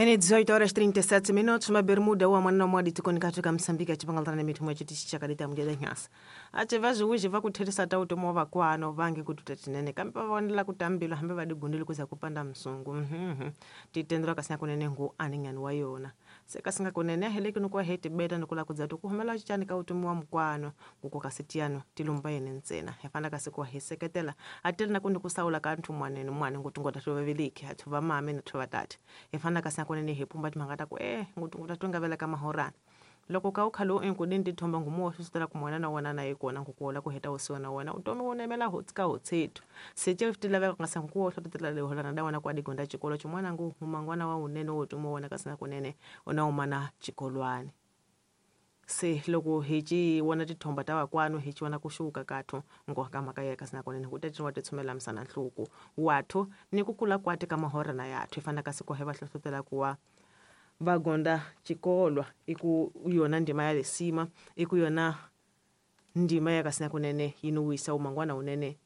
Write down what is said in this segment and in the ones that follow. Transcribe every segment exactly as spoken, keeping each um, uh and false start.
Ene dezoito horas trinta e sete minutos, uma bermuda wa mwana mwadi tikoni katika Msambiki achipangalana mithu mwa chiti chakadita mjeda nyasa. Ache vazi uji vakutheresa tauto mwa vakwano vange kututa tinene kambe vaonela kutambila hambe vadigundile kuza kupanda msungu. Mhm. Titendra kasina kunene ngu aningani wa yona. Sekasinga kunene aheleki nukwa heti beta nukula kudzatu kuhumela chichani ka utumu wa mkwano kuko kasitiano tilumba yene ntsena. Hefana kasikuwa heseketela atele nakundi kusaula kanthu mwanene mwane ngutungo tatu vaviliki athu vamame nathu vatati. Hefana kasina kunene hepumba timangata ku eh ngutungo tatu ngavela ka mahorana. Loko ka ukhalo enkudini tithomba ngumuwa susutela kumwana na wona na yikona ngukuola kuheta usiwa na wona utomi wonemela hotsika hotsethu setse tilaveka ngasa ngukuwa hlotetela leholana da wona kwa digonda chikolo chimwana ngu humangwana wa unene wotumo wona kasina kunene ona umana chikolwane se loko hichi wona tithomba ta vakwanu hichi wona kuxuka kathu ngoka mhaka ya kasina kunene ku tetiwa titshumela misana nhluku wathu ni ku kula kwati ka mahorana yathu ifana kasi ku heva hlohlotela kuwa vagonda chikolwa iku yona ndima ya lesima iku yona ndima ya kasina kunene yinuwisa umangwana unene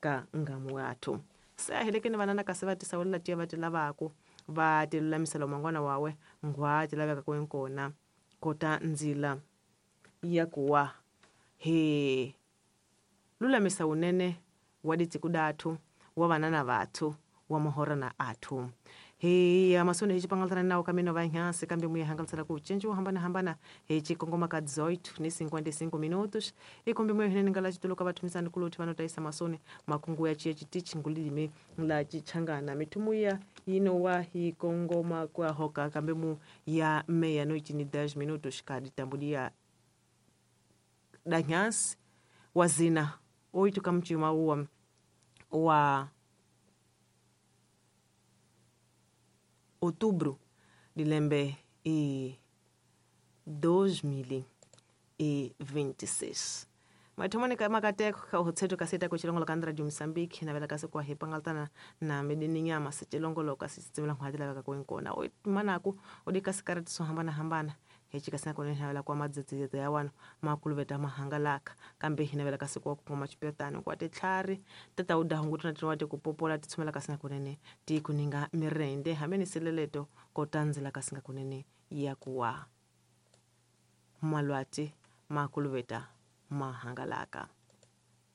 ka ngamu yathu sahelekeni vanana kasi va tisawulela tiya va ti lavako va ti lulamisela umangwana wawe ngwa ti laveka ku nkona kota ndzila ya kuwa he lulamisa unene wa ditsiku dathu wa vanana vathu wa mahorana athu. He amasone hichi pangaltana nao kamino va nhansi kambe muya hangaltsala ku cinci wo hambana hambana hichi kongoma ka dezoito ni cinquenta e cinco minutos ikombe muya hinene ngala chituluka vathumisani kuluthi vanotaisa masone makungu ya chiye chitichi ngulilime la chichangana mithumuya yino wa hi kongoma kwa hoka kambe mu ya meia noite ni dez minutos ka ditambulia da nhansi wazina oito kamchima uwa wa outubro de lembe e dois mil e vinte e seis. Mathomane ka makateko ka hotseto ka seta ko chilongolo ka Radio Mozambique na vela ka sekwa hepangaltana na medini nyama sechilongolo ka sitsibela ngwadela ka kwenkona o manaku o dika sikarati so hambana hambana hechi ka sina kone na kwa madzedzedze ya wano makuluveta mahangalaka kambe hina vela ka sekwa ku ngoma chipetano kwa titlhari tata u dahungu tuna tinwa ku popola titshumela ka sina kunene ti kuninga mirende hamene seleleto kotanzela ka singa kunene ya kuwa malwati makuluveta mahangalaka.